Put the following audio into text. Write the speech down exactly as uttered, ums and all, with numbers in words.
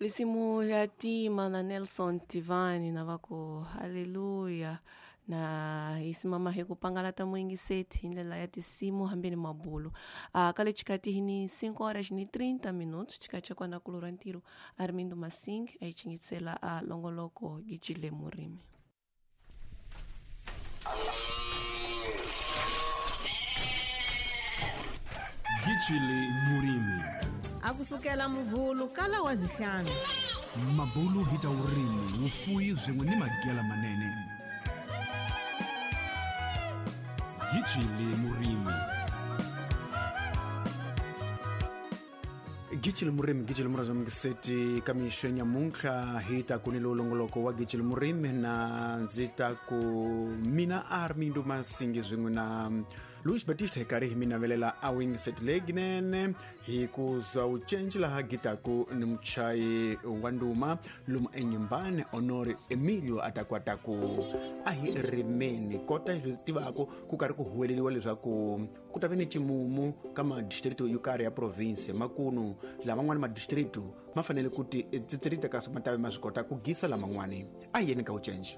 Risimu ya tima na Nelson Tivani na va ku haleluya na hi simama hi ku pangalata muyingiseti hi ndlela ya tinsimu hambi ni mabulu. Uh, ka le xikati hi ni cinco horas ni trinta minutos xikati xa kona kulura ntirho Armindo Masing a yi chingisela a longoloko gijile murimi. Gijile murimi. Akusukela muvhulu kala wa zihlanu. Mabulu hi ta urimi wufuyi swin'we ni magela manene. Gijile murimi. Gijile murimi, gijile muraza mngiseti kamishwe nyamuntlha hi ta ku ni longoloko wa gijile murimi na ndzi ta ku mina Armindo Masingi swin'we na Luis Batista hi karhi hi mi navelela a wingiset leyinene hi ku za u cenci laha gitaku ni muchayi wa nduma lomu enyimbani Honore Emilio a ta kwata ku a hi rimeni kota hi swi tivaku ku karhi ku huweleriwa leswaku ku ta ve ni ximumu ka madistrito yo karhi ya province makunu laman'wani madistrito ma fanele ku ti tsitsilita kasi ma ta ve ma swi kota ku gisa laman'wani a hi yeni ka u cenci.